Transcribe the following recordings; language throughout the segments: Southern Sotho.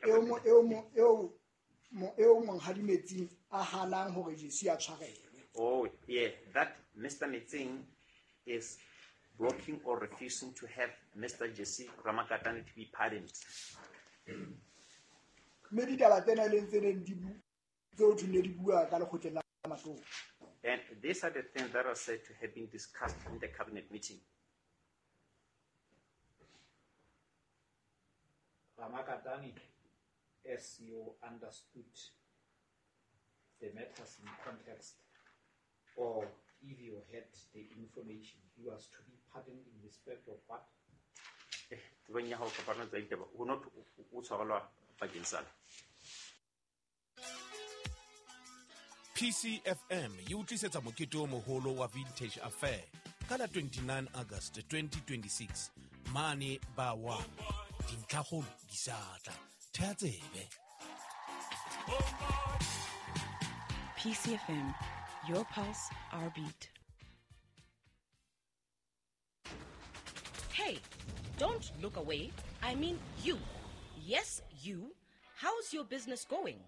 Eo Monghadi Metsing a hanang hore Jesse a tshwarelwe. Oh, yeah, that Mr. Metsing is blocking or refusing to have Mr. Jesse Ramakatane to be pardoned. Mme ditaba tsena e leng tse neng di tseo thweng ne di bua ka lekgotleng la matona. And these are the things that are said to have been discussed in the cabinet meeting. Ramakatane, as you understood the matters in context, or if you had the information, he was to be pardoned in respect of what? Tsebong ya hao kapa tsa ditaba, ho not o tshwarelwa bakeng sa PCFM e o tlisetsa mokete o moholo wa Vintage Affair ka la 29 August 2026 mane ba wa dintlhakgolo di sa tla. Thea tsebe. PCFM, your pulse, our beat. Hey, don't look away. I mean you. Yes, you. How's your business going?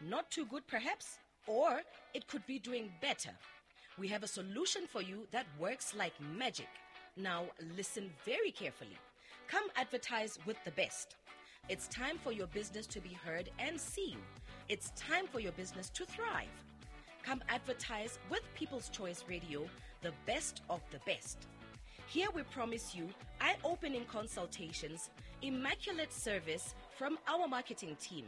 Not too good, perhaps? Or it could be doing better. We have a solution for you that works like magic. Now, listen very carefully. Come advertise with the best. It's time for your business to be heard and seen. It's time for your business to thrive. Come advertise with People's Choice Radio, the best of the best. Here we promise you eye-opening consultations, immaculate service from our marketing team.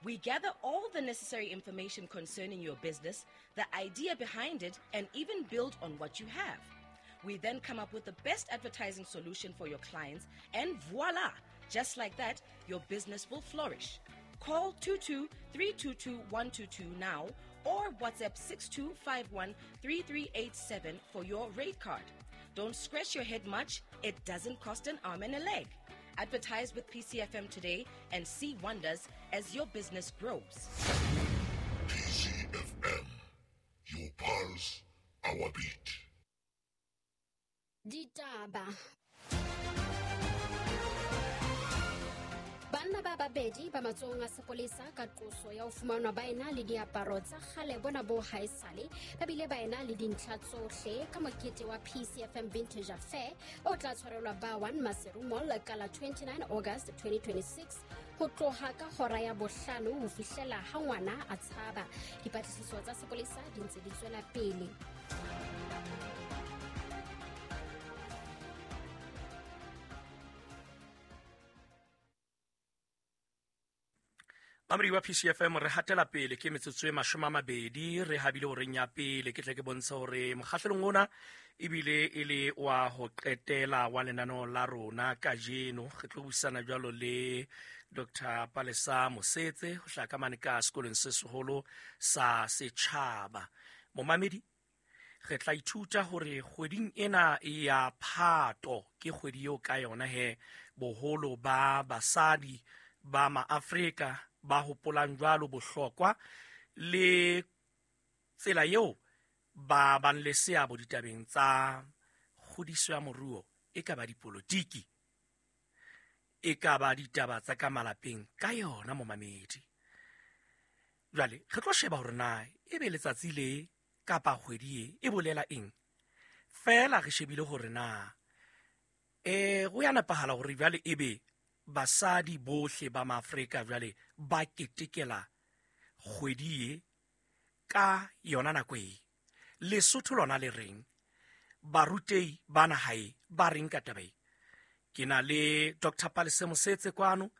We gather all the necessary information concerning your business, the idea behind it, and even build on what you have. We then come up with the best advertising solution for your clients, and voila! Just like that, your business will flourish. Call 22-322-122 now or WhatsApp 6251-3387 for your rate card. Don't scratch your head much. It doesn't cost an arm and a leg. Advertise with PCFM today and see wonders as your business grows. PCFM, your pulse, our beat. Ditaba. Banna ba babedi ba matsohong a sepolesa ka qoso ya ho fumanwa ba ena le diaparo tsa kgale bona bo haesale, ba bile ba ena le dintlha tsohle ka mokete wa PCFM Vintage Affair o tla tshwarelwa ba 1 Maseru Mall ka la 29 August 2026 ho tloha ka hora ya bohlano ho fihlela ha ngwana a tshaba. Dipatlisiso tsa sepolesa di ntse di tswela pele. Mamedi wa PCFM re hatela pele ke metsotso e 20 re habile horeng ya pele. Ke tle ke bontshe hore mokgahlelong ona ebile e le wa ho qetela wa lenaneo la rona kajeno. Re tlo buisana jwalo le Dr. Palesa Mosetse ho hlaka mane ka sekolong se seholo sa setjhaba. Momamedi, re tla ithuta hore kgweding ena ya Phato ke kgwedi eo ka yona he boholo ba basadi ba maAfrika ba hopolang jwalo bohlokwa le tsela eo ba bang le seabo ditabeng tsa kgodiso ya moruo, e ka ba dipolotiki, e ka ba ditaba tsa ka malapeng ka yona momamedi. Jwale re tlo sheba hore na ebe letsatsi le kapa kgwedi e e bolela eng. Feela re shebile hore na go ya nepahala hore jwale ebe basadi bohle ba maAfrika jwale ba ketekela kgwedi e ka yona nako e. Lesotho lona le reng? Barutei ba naha e ba reng ka taba e? Ke na le Dr. Palesa Mosetse kwano,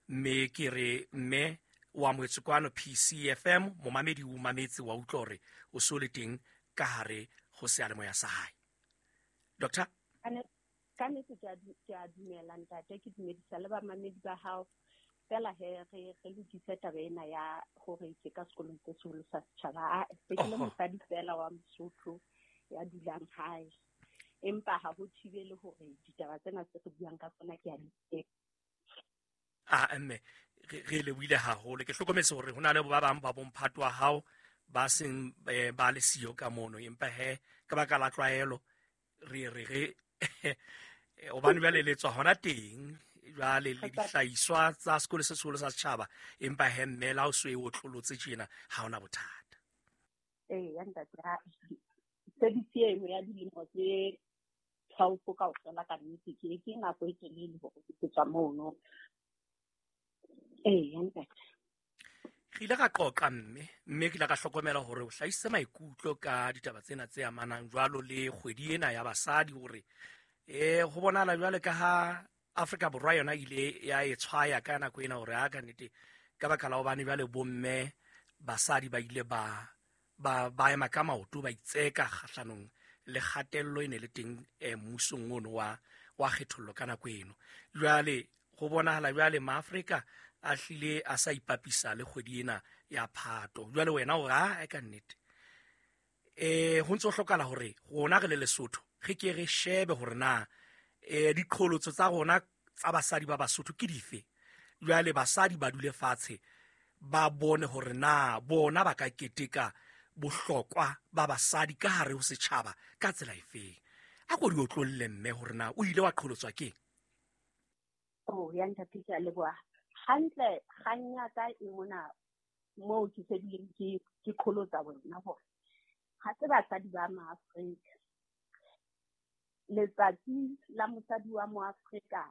mme ke re mme o amohetswe kwano PCFM. Momamedi o mametse wa utlwa hore o so le teng ka hare ho seyalemoya sa hae. Doctor? Ka nnete ke a dumela ntate, ke dumedisa le bamamedi ba hao. Fela he re lokise taba ena ya hore ke ka sekolong se seholo sa setjhaba. Se ke le mosadi fela wa Mosotho ya dulang hae, empa ha ho thibele hore ditaba tsena tse re buang ka tsona ke a di Mme re lebohile haholo. Ke hlokometse hore ho na le ba bang ba bomphato wa hao ba seng ba le siyo ka mono, empa he ka baka la tlwaelo re re hobane jwale le tswa hona teng. Jwale le dihlahiswa tsa sekolo se seholo sa setjhaba, empa he mme la o so e otlolotse tjena ha ona bothata. Eya ntate, service eno ya dilemo tse 12 kaofela ka nnete ke nako e telele hore ke tswa mono. Eya ntate. Re ile ka qoqa mme ke ile ka hlokomela hore o hlahisitse maikutlo ka ditaba tsena tse amanang jwalo le kgwedi ena ya basadi, hore ho bonahala jwale ka ha Afrika Borwa yona ile ya e tshwaya ka nako ena hore a ka nnete ka baka la hobane jwale bomme basadi ba ile ba ema ka maoto, ba itseka kgahlanong le kgatello e ne le teng mmusong ono wa kgethollo ka nako eno. Jwale ho bonahala jwale maAfrika a hlile a sa ipapisa le kgwedi ena ya Phato. Jwale wena o re a ka nnete ho ntse ho hlokahala hore rona re le Lesotho re ke re shebe hore na diqholotso tsa rona tsa basadi ba Basotho ke dife. Jwale basadi ba dule fatshe ba bone hore na bona ba ka keteka bohlokwa ba basadi ka hare ho setjhaba ka tsela efeng. A ko di otlolle mme hore na o ile wa qholotswa keng. Oh, ya ntate, ke a leboha. Hantle kgang ya ka e mona moo ke sedileng ke qholotsa wena hore ha se basadi ba maAfrika. Letsatsi la mosadi wa moAfrika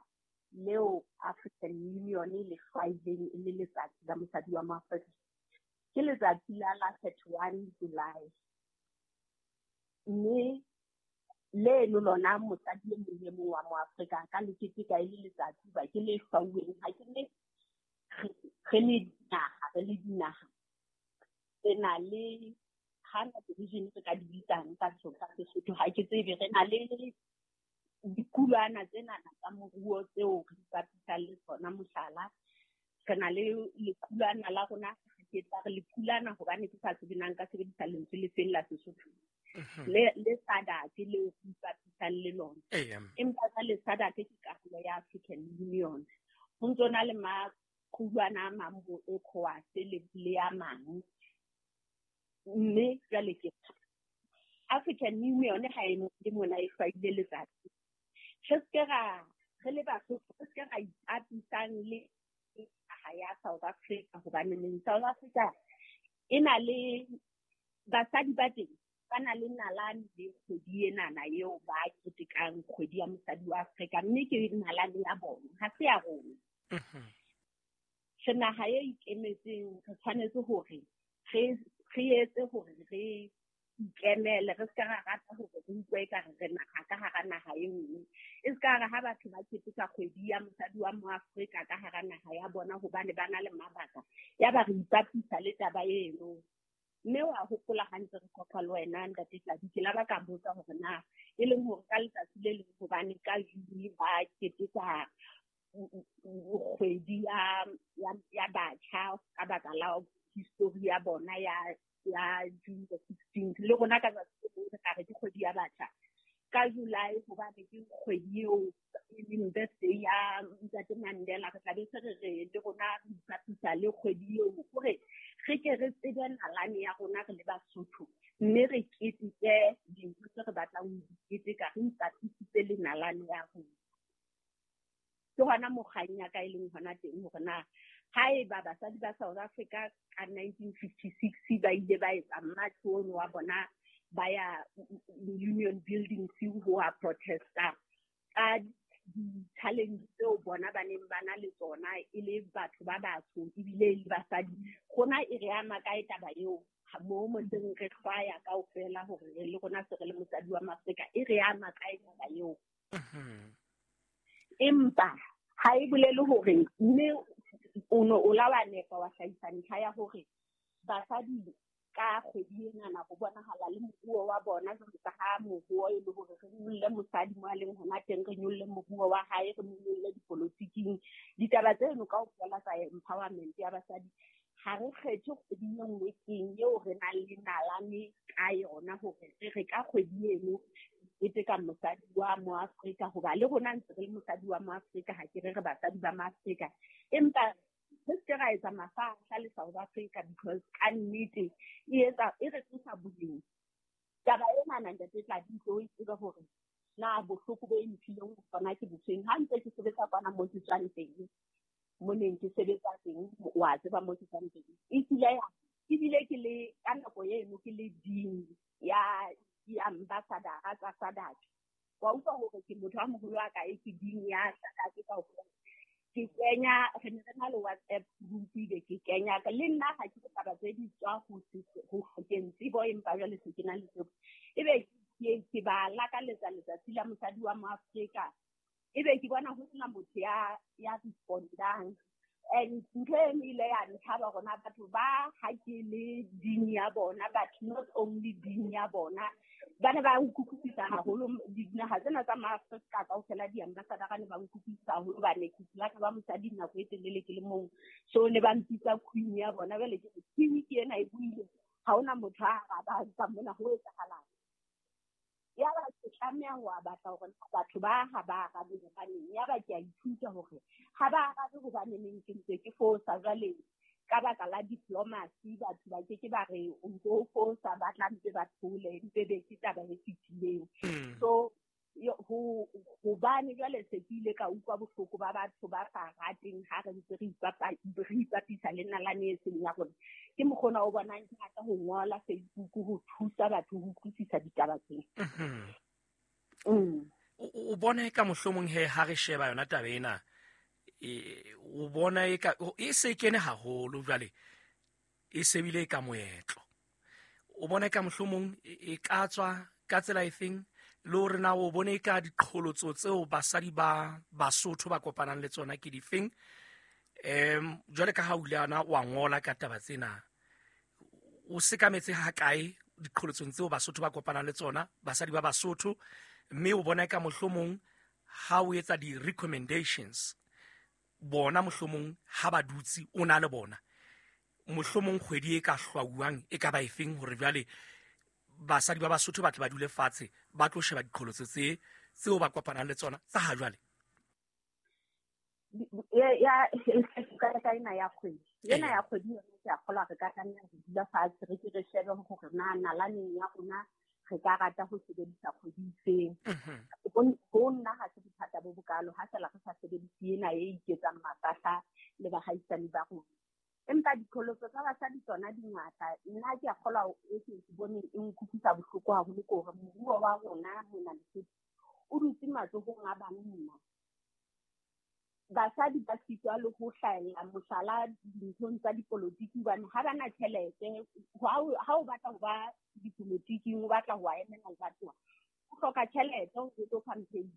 leo African Union le hlwaileng e le letsatsi la mosadi wa moAfrika ke letsatsi la 31 July. Mme leno lona mosadi e mong le mong wa moAfrika ka le keteka e le letsatsi ba ke le hlwauweng. Ha ke le re le dinaha re na le hana division re ka di bitsang ka Sesotho, ha ke tsebe, re na le dikulwana tsenana tsa moruo tseo re ipapisang le tsona. Mohlala, re na le lekulwana la rona, ke tla re lekulwana hobane ke sa tsebe na nka sebedisa lentswe le feng la Sesotho, le SADC leo re ipapisang le lona. Empa jwale SADC ke karolo ya African Union. Ho ntso na le maqulwana a mang bo ECOWAS le a mang. Mme jwale ke African Union ha e le mona e hlwaile letsatsi. Re se ra re le Basotho, re se ra ipapisang le naha ya South Africa, hobane neng South Africa e na le basadi ba teng ba na le nalane le kgwedi enana eo ba ketekang kgwedi ya mosadi wa Afrika, mme ke nalane ya bona, ha se ya rona. Re naha e ikemetseng, re tshwanetse hore re etse hore re ikemele, re ska ra rata hore re utlwe ekare re naha ka hara naha e nngwe. E ska re ha batho ba keteka kgwedi ya mosadi wa moAfrika ka hara naha ya bona hobane ba na le mabaka, ya ba re ipapisa le taba eno. Mme wa hopola hantle re qoqa le wena ntate Tladi, ke la ba ka botsa hore na e leng hore ka letsatsi le leng hobane ka June ba keteka kgwedi ya batjha ka baka la history ya bona ya June the 16th, le rona ka tsatsi le re ka re ke kgwedi ya batjha ka July hobane ke kgwedi eo e leng birthday ya Ntate Mandela, re tla be se re le rona re ipapisa le kgwedi eo hore re ke re tsebe nalane ya rona re le Basotho, mme re keteke dintho tse re batlang ho di keteka, re ipapisitse le nalane ya rona. Ke hona mokgang ya ka e leng hona teng hore na haeba basadi ba South Africa ka 1956 ba ile ba etsa march ono wa bona ba ya Union Building ho a protesta ka di-challenge tseo bona ba neng ba na le tsona e le batho ba batsho ebile e le basadi, rona e re ama kae taba eo mo motseng re hlwaya kaofela hore le rona se re le mosadi wa Afrika, e re ama kae taba eo? Empa ha e bolele hore mme o no o la wa nepa wa hlahisa ntlha ya hore basadi ka kgwedi enana ho bonahala le moruo wa bona jwalo ka ha moruo e le hore re nyolle mosadi mo a leng hona teng, re nyolle moruo wa hae, re mo nyolle dipolotiking. Ditaba tseno kaofela tsa empowerment ya basadi ha re kgethe kgwedi e nngwe keng eo re nang le nalane ka yona hore re re ka kgwedi eno keteka mosadi wa moAfrika, hoba le rona ntse re le mosadi wa moAfrika, ha ke re re basadi ba maAfrika, empa re se ra etsa mafahla le South Africa because ka nnete e etsa e re tlosa boleng. Taba enana ntate Tladi, o e tsebe hore na bohloko bo e mphileng tsona ke bofeng. Ha ntse ke sebetsa kwana mo ke tswang teng, mo neng ke sebetsa teng, wa tseba mo ke tswang teng. E kile ya ebile ke le ka nako eno ke le dean ya di-ambassador-a tsa SADC. Wa utlwa hore ke motho a moholo wa kae, ke dean ya SADC kaofela. Ke kenya, re ne re na le WhatsApp group, ebe ke kenya le nna ha ke taba tse di tswa ho hlokeng tsebo, empa jwale se ke na le tsebo. Ebe ke ba lakaletsa letsatsi la mosadi wa Moafrika, ebe ke bona ho sena motho ya respondang. And ntho e ile ya ntlhaba rona batho ba ha ke le dean ya bona, but not only dean ya bona, ba ne ba nkutlwisisa haholo. Dinaha tsena tsa Maafrika kaofela di-ambassador ne ba nkutlwisisa haholo, hobane ke kile ka ba mosadi nako e telele ke le mong, so ne ba mpitsa queen ya bona. Jwale ke queen ke ena e buile, ha hona motho a arabang ka mona ho etsahalang. Yaba ke tlameha ho batla hore batho ba ha ba arabe hobaneng. Yaba ke a ithuta hore ha ba arabe hobaneng ke ntse ke fosa. Jwale ka baka la diplomacy batho ba ke ke ba re o ntse o fosa, ba tla ntse ba thole, mpe be ke taba e fetileng. So hobane jwale se ke ile ka utlwa bohloko ba batho ba sa rateng ha re ntse re ipapisa le nalane e seng ya rona. Ke mokgona o bonang ke rata ho ngola Facebook ho thusa batho ho utlwisisa ditaba tsena. O bona e ka mohlomong he ha re sheba yona taba ena, o bona e ka e se kene haholo jwale, e sebile ka moetlo. O bona e ka mohlomong e ka tswa ka tsela efeng, le hore na o bone ka diqholotso tseo basadi ba Basotho ba kopanang le tsona ke difeng? Jwale ka ha o ile ana wa ngola ka taba tsena, o sekametse ha kae diqholotsong tseo Basotho ba kopanang le tsona, basadi ba Basotho, mme o bona ka mohlomong ha o etsa di-recommendations, bona mohlomong ha ba dutse o na le bona, mohlomong kgwedi e ka hlwauwang e ka ba efeng hore jwale basadi ba Basotho ba tle ba dule fatshe ba tlo sheba diqholotso tseo ba kopanang le tsona tsa ha jwale? Ya ka ena ya kgwedi, ena ya kgwedi yona ke a kgolwa re ka tlameha ho dula fatshe re ke re shebe hore na nalaneng ya rona re ka rata ho sebedisa kgwedi efeng. Ho nna ha se bothata bo bokalo ha fela re sa sebedise ena e iketsang mafahla le bahaisane ba rona. Empa diqholotso tsa basadi tsona di ngata. Nna ke a kgolwa e ke boneng e nkutlwisa bohloko haholo ke hore moruo wa rona mona Lesotho o dutse matsohong a banna. Basadi ba sitwa le ho hlahella mohlala dinthong tsa dipolotiki hobane ha ba na tjhelete. Ha o batla ho ba dipolotiking, o batla ho emela lebatowa, o hloka tjhelete ho tlo campaign.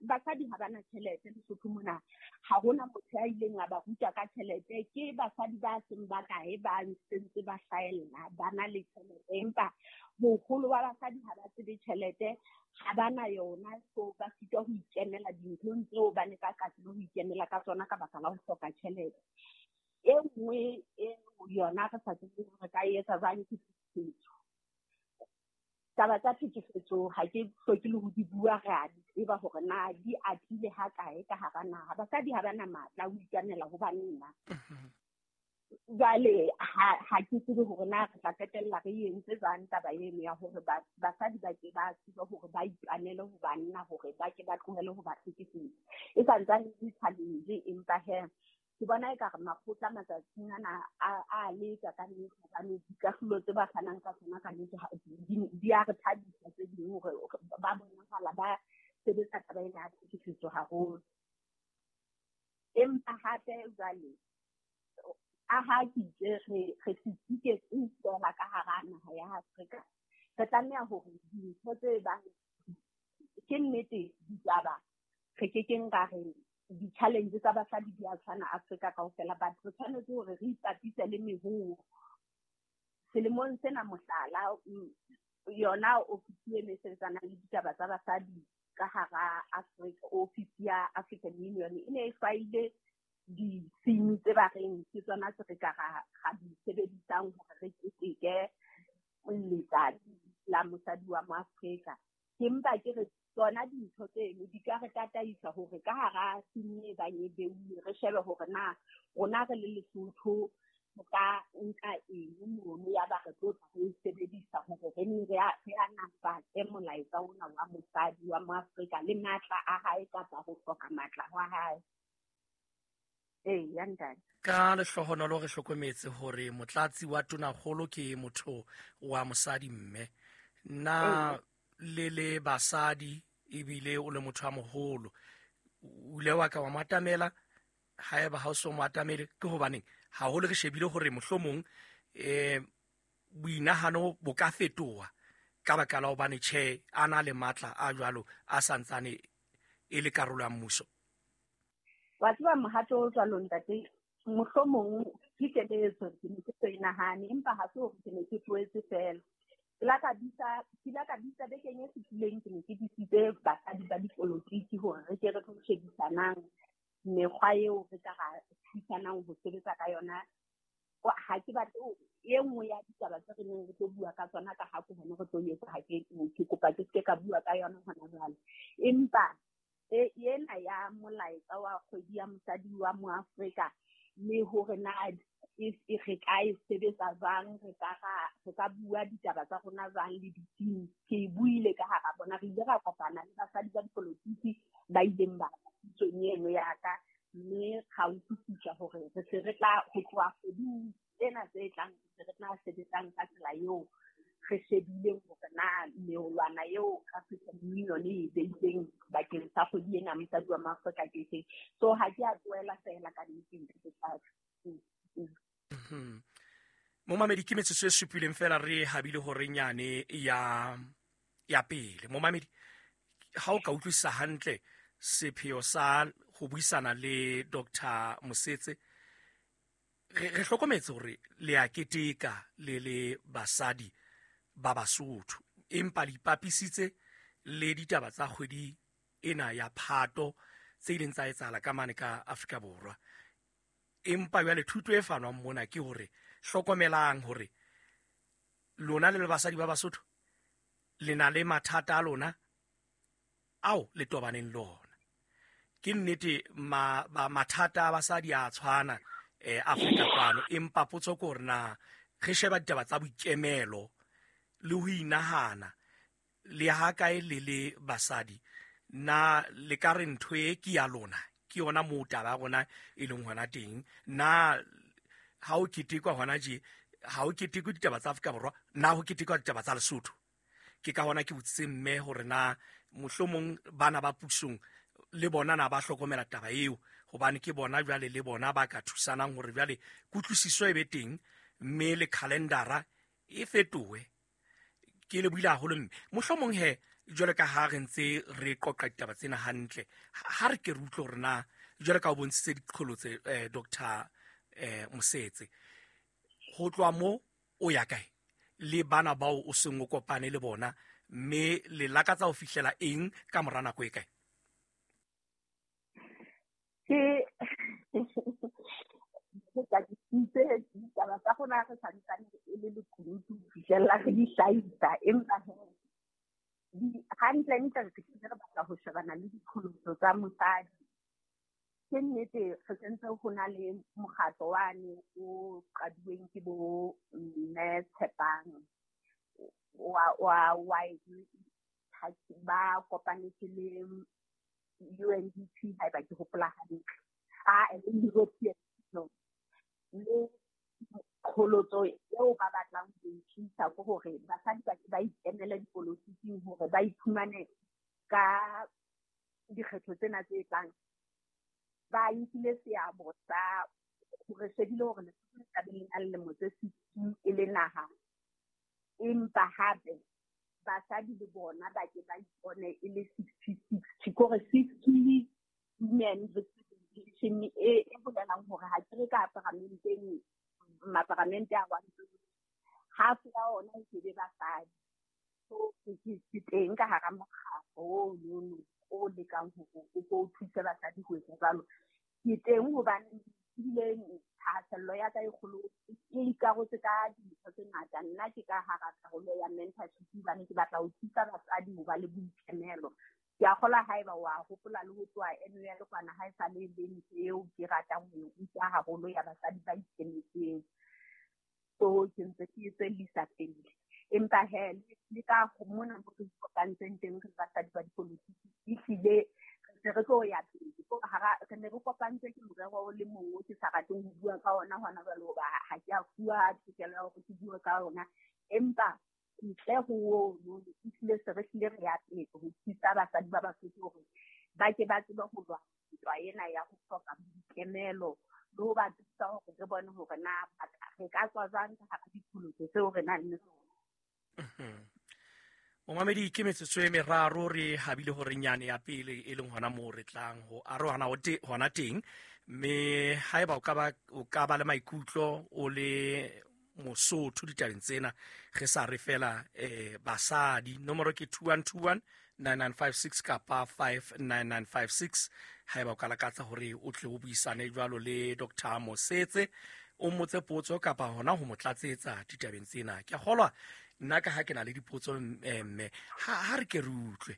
Basadi ha ba na tjhelete Lesotho mona, ha hona motho ya ileng a ba ruta ka tjhelete. Ke basadi ba seng ba kae ba ntse ba hlahella ba na le tjhelete, empa boholo ba basadi ha ba tsebe tjhelete, ha ba na yona, so ba sitwa ho ikemela dinthong tseo ba ne ba ka tsebe ho ikemela ka tsona ka baka la ho hloka tjhelete. E nngwe e yona re sa tsebeng re ka etsa jwang ke tlhekefetso. Taba tsa tlhekefetso ha ke hloke le ho di bua, re a di tseba hore na di atile ha kae ka hara naha. Basadi ha ba na matla a ho ikwanela ho banna. Jwale ha ke tsebe hore na re tla qetella re entse jwang taba eno ya hore basadi ba ke ba tsebe hore ba itwanele ho banna, hore ba ke ba tlohele ho ba hlekefetsa. E santsane e le challenge, empa he ke bona ekare makgotla matsatsing ana a leka ka nnete, hobane dikahlolo tse ba fanang ka tsona ka nnete di a re thabisa tse ding hore ba bonahala ba sebetsa taba ena ya tlhekefetso haholo. Empa hape jwale a ha ke itse re se feela ka hara naha ya Afrika, re tlameha hore dintho tse bang ke nnete ditaba re kekeng ra re di-challenge tsa basadi di a tshwana Afrika kaofela, but re tshwanetse hore re ipapise le mehoo. Selemong sena mohlala, yona ofisi e ne sebetsanang le ditaba tsa basadi ka hara Afrika, ofisi ya African Union e ne e hlwaile di-theme tse ba reng ke tsona tse re ka ra di sebedisang hore re keteke letsatsi la mosadi wa Moafrika. Ke mpa ke re tsona dintho tseno di ka re tataisa hore ka hara theme e bang e beuwe re shebe hore na rona re le Lesotho Re ka nka eng mono ya ba re tlo tla re e sebedisa hore re nne re anafatse molaetsa ona wa mosadi wa Moafrika le matla a hae kapa ho hloka matla hwa hae. Ee, ya ntate. Ka lehlohonolo re hlokometse hore motlatsi wa tonakgolo ke motho wa mosadi mme nna le le basadi ebile o le motho a moholo o ile wa ka wa mo atamela. Haeba ha o so mo atamele ke hobaneng haholo re shebile hore mohlomong boinahano bo ka fetoha ka baka la hobane tjhe a na le matla a jwalo a santsane e le karolo ya mmuso. Wa tseba mohato o jwalo ntate, mohlomong ke keletso ke ne ke so e nahane, empa ha se hore ke ne ke tlohetse feela. Ke la ka bitsa bekeng e fetileng, ke ne ke bitsitse basadi ba dipolotiki hore re ke re tlo shebisanang mekgwa eo re ka ra thusanang ho sebetsa ka yona. Ha ke batle e nngwe ya ditaba tse re neng re tlo bua ka tsona ka ha ke hona re tlo etsa, ha ke kopa ke seke ka bua ka yona hona jwale. Empa ena ya molaetsa wa kgwedi ya mosadi wa Moafrika le hore na re ka e sebetsa jwang, re ka bua ditaba tsa rona jwang le di-team. Ke e buile ka hara bona, re ile ra kopana le basadi ba dipolotiki ba ileng ba pitsong eno ya ka, mme ra utlwisisa hore re se re tla ho tloha kgweding tsena tse tlang, re se re tla sebetsang ka tsela eo re shebileng hore na meolwana eo African Union e beileng bakeng sa kgwedi ena mosadi wa Moafrika ke efeng. So ha ke a tlohela feela ka nnete ntate Tlatsa. Momamedi, ke metsotso e supileng fela re habile hore nyane ya pele. Momamedi, ha o ka utlwisisa hantle sepheo sa ho buisana le Dr. Mosetse, re hlokometse hore le a keteka le le basadi ba Basotho, empa le ipapisitse le ditaba tsa kgwedi ena ya Phato tse ileng tsa etsahala ka mane ka Afrika Borwa. Empa jwale thuto e fanwang mona ke hore hlokomelang hore lona le le basadi ba Basotho le na le mathata a lona ao le tobaneng le ona. Ke nnete mathata a basadi a tshwana Afrika kwano, empa potso ke hore na re sheba ditaba tsa boikemelo le ho inahana le ha kae le le basadi, na le ka re ntho e ke ya lona, ke yona moo taba ya rona e leng hona teng. Na ha o ketekwa hona je, ha o ketekwe ditaba tsa Afrika Borwa, na ho ketekwa ditaba tsa Lesotho? Ke ka hona ke botsitse mme hore na mohlomong bana ba pusong le bona na ba hlokomela taba eo, hobane ke bona jwale le bona ba ka thusanang hore jwale kutlwisiso e be teng mme le calendara e fetohe. Ke le buile haholo mme mohlomong he jwale ka ha re ntse re qoqa ditaba tsena hantle, ha re ke re utlwe hore na jwale ka o bontshitse diqholotse Dr. Mosetse, ho tloha mo o ya kae le bana bao o seng o kopane le bona, mme le lakatsa ho fihlela eng ka mora nako e kae? Ke ke ditaba tsa rona re santsane e le lekunutu ho fihlella re di hlahisa, empa hantlentle re re batla ho shebana le diqholotso tsa mosadi. Ke nnete re sentse ho na le mokgatlo wane o qaduweng ke bo mme Tshepang wa ba kopanetse le UNDP haeba ke hopola hantle, le European Union. Le qholotso eo ba batlang ho e tlisa ke hore basadi ba ke ba ikemele dipolotiking hore ba iphumane ka dikgetho tsena tse tlang ba nkile seabo sa hore shebile hore Lesotho le tla be le na le lemo tse 60 e le naha, empa hape basadi le bona ba ke ba ipone e le 60-60, kore 60 women representation e bolelang hore ha ke re ka paramenteng, maparamente a 120, half ya ona e ke be basadi. So ke teng ka hara mokgatlo ono o lekang hore o tlo thuse basadi ho etsa jwalo. Ke teng hobane ebile thahasello ya ka e kgolo e ikarotse ka dintho tse ngata. Nna ke ka hara karolo ya mentorship hobane ke batla ho thusa basadi ho ba le boikemelo. Ke a kgolwa haeba wa hopola le ho tloha NUL kwana ha e sa le le ntho eo ke ratang ho e ruta haholo ya basadi ba ikemetseng. So ke ntse ke tswellisa pele. Empa he le ka mona mo re kopantseng teng re basadi ba dipolotiki, ehlile re se re tlo ya pele. Ko hara re ne re kopantswe ke morero o le mong o ke sa rateng ho bua ka ona hona jwale, hoba ha ke a fuwa tokelo ya hore ke bue ka ona. Empa ntle ho ono, ehlile se re hlile re ya pele ho thusa basadi ba Basotho hore ba ke ba tsebe ho lwana ntwa ena ya ho hloka boikemelo, le ho ba thusa hore re bone hore na re ka tswa jwang ka hara diqholotso tseo re nang le tsona. Momamedi, ke metsotso e meraro re habile hore nyane ya pele e leng hona moo re tlang ho arohana hona teng, mme haeba o ka ba le maikutlo o le Mosotho ditabeng tsena, re sa re fela basadi, nomoro ke 2121 9956 kapa 59956. Haeba o ka lakatsa hore o tle o buisane jwalo le Dr. Mosetse, o mmotse potso kapa hona ho mo tlatsetsa ditabeng tsena. Ke a kgolwa nna ka ha ke na le dipotso, mme ha re ke re utlwe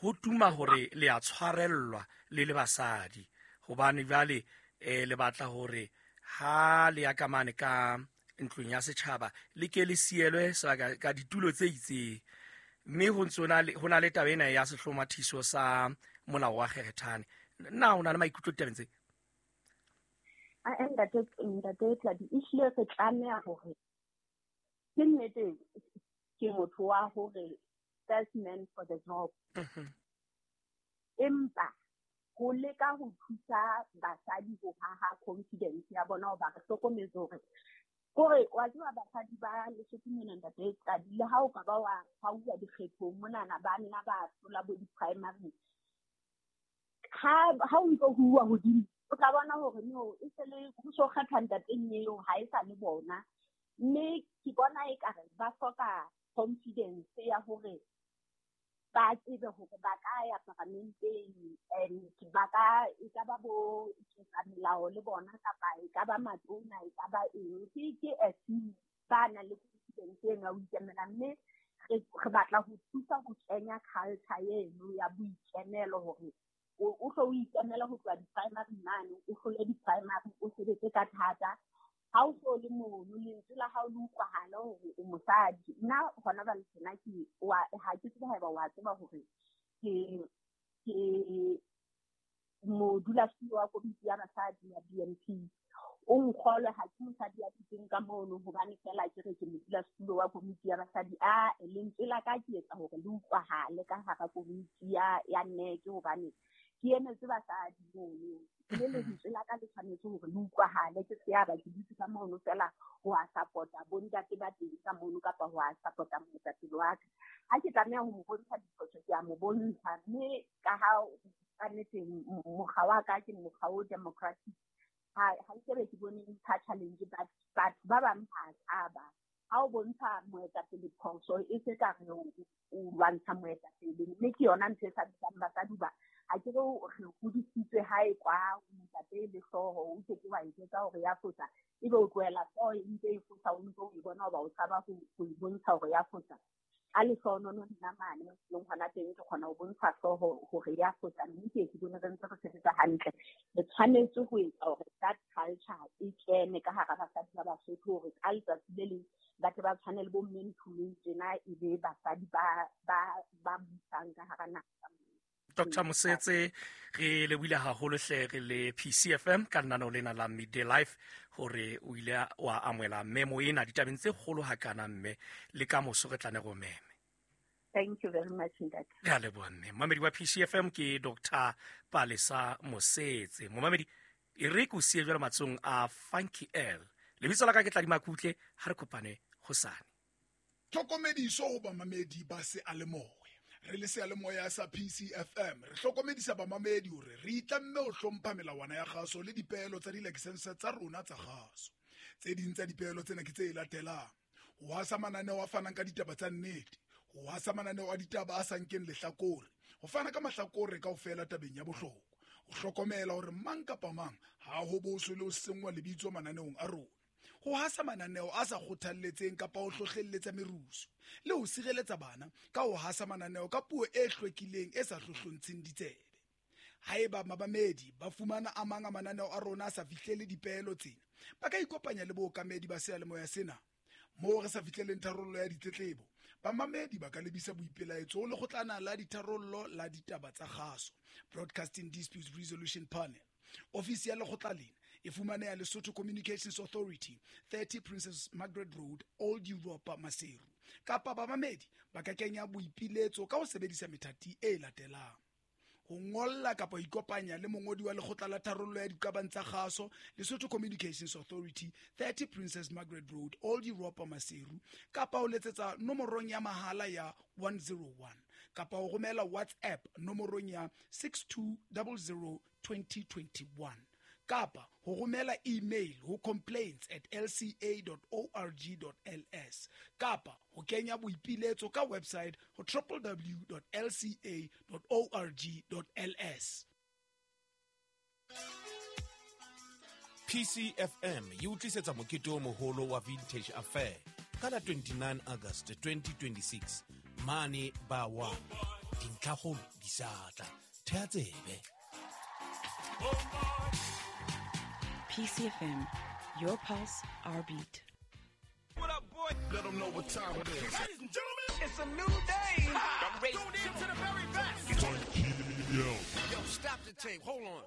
ho tuma hore le a tshwarellwa le le basadi, hobane jwale le batla hore ha le ya ka mane ka ntlong ya setjhaba le ke le sielwe sebaka ka ditulo tse itseng, mme ho ntse ho na le taba ena ya sehlomathiso sa molao wa Kgerethane. Na o na le maikutlo ditabeng tse? Ntate Tladi, ehlile re tlameha hore ke nnete ke motho wa hore first man for the job. Empa ho leka ho thusa basadi ho haha confidence ya bona, hoba re hlokometse hore kore wa tseba basadi ba Lesotho mona, ntate Tladi, le ha o ka ba wa hauwa dikgethong monana, ba nna ba hlola bo di-primary, ha o ntso ho uwa hodimo, o tla bona hore no, e se le ho so kgetha ntateng eo, ha e sa le bona. Mme ke bona ekare ba hloka confidence ya hore ba tsebe hore ba ka ya paramenteng, and ba ka e ka ba bo etsa melao le bona, kapa e ka ba matona, e ka ba eng. Ke a few ba nang le confidence eno ya ho ikemela, mme re batla ho thusa ho kenya culture eno ya boikemelo, hore o hlo o ikemele ho tloha di-primary mane, o hlole di-primary, o sebetse ka thata. Ha o so le mono, lentswe la hao le utlwahale hore o mosadi. Nna hona jwale tjena ke ha ke tsebe haeba wa tseba hore ke modulasetulo wa komiti ya basadi ya BNP. O nkgolwe, ha ke mosadi ya dutseng ka mono hobane feela ke re ke modulasetulo wa komiti ya basadi. A lentswe la ka ke etsa hore le utlwahale ka hara komiti ya NEC, hobane ke emetse basadi mono. Mme lentswe la ka le tshwanetse hore le utlwahale, ke se ya ba ke dutse ka mono feela ho a support-a bontate ba teng ka mono, kapa ho a support-a moetapele wa ka. Ha ke tlameha ho mo bontsha diphoso, ke a mo bontsha. Mme ka ha ka nnete mokga wa ka ke mokga o democratic, ha nkebe ke bone ntsha challenge, but batho ba bang ba tshaba. Ha o bontsha moetapele phoso, e se ka re o lwantsha moetapele, mme ke yona ntho e sa bitsang basadi ba. Ha ke re re hodisitswe hae kwa ntate le hlooho, o ke ke wa e jwetsa hore ya fosa, ebe o tlohela hlooho e ntse e fosa, o ntso o e bona hoba o tshaba ho e bontsha hore ya fosa. Ka lehlohonolo nna mane leng hona teng ke kgona ho bontsha hlooho hore ya fosa, mme ke ke bone re ntse re sebetsa hantle. Re tshwanetse ho etsa hore that culture e kene ka hara basadi ba Basotho, hore ka letsatsi le leng ba tle ba tshwane le bo mme Nthumeng tjena, e be basadi ba busang ka hara naha. Dr. Mosetse, re lebohile haholo hle re le PCFM ka lenaneo lena la Midday Life, hore o ile wa amohela memo ena ditabeng tse kgolo hakana, mme le ka moso re tla ne re o meme. Thank you very much, ntate. Re a leboha, mme. Momamedi wa PCFM ke Dr. Palesa Mosetse. Momamedi, e re ke o siye jwale matsohong a Funky L. Lebitso la ka ke Tladi Makutle, ha re kopane hosane. Tlhokomediso ho bamamedi ba seyalemoya. Re le seyalemoya sa PCFM, re hlokomedisa bamamedi hore re itlamme ho hlompha melawana ya kgaso le dipeelo tsa dilakesense tsa rona tsa kgaso. Tse ding tsa dipeelo tsena ke tse latelang: ho hasa mananeo a fanang ka ditaba tsa nnete, ho hasa mananeo a ditaba a sa nkeng lehlakore, ho fana ka mahlakore kaofela tabeng ya bohlokwa, ho hlokomela hore mang kapa mang ha ho boswe le ho senngwa lebitso mananeong a rona, ho hasa mananeo a sa kgothalletseng kapa ho hlohlelletsa merusu, le ho sireletsa bana ka ho hasa mananeo ka puo e hlwekileng e sa hlohlontsheng ditsebe. Haeba babamedi ba fumana a mang a mananeo a rona a sa fihlele dipeelo tsena, ba ka ikopanya le bookamedi ba seyalemoya sena. Moo re sa fihleleng tharollo ya ditletlebo, bamamedi ba ka lebisa boipelaetso ho lekgotlana la ditharollo la ditaba tsa kgaso, Broadcasting Disputes Resolution Panel. Ofisi ya lekgotla lena e fumaneha Lesotho Communications Authority, 30 Princess Margaret Road, Old Europa, Maseru. Kapa bamamedi ba ka kenya boipiletso ka ho sebedisa methati e latelang: ho ngolla kapa ho ikopanya le mongodi wa lekgotla la tharollo ya diqabang tsa kgaso, Lesotho Communications Authority, 30 Princess Margaret Road, Old Europa, Maseru, kapa ho letsetsa nomorong ya mahala ya 101, kapa ho romela WhatsApp nomorong ya 6200 2021, kapa ho romela email ho complaints@lca.org.ls, kapa ho kenya boipiletso ka website ho www.lca.org.ls. PCFM e o tlisetsa mokete o moholo wa Vintage Affair ka la 29 August 2026 mane Bawa. Dintlhakgolo di sa tla. Thea tsebe. PCFM, your pulse, our beat. What up, boy? Let them know what time it is. Ladies and gentlemen, it's a new day. I'm ready. Tuned in to the very best. Yo. Yo, stop the tape. Hold on.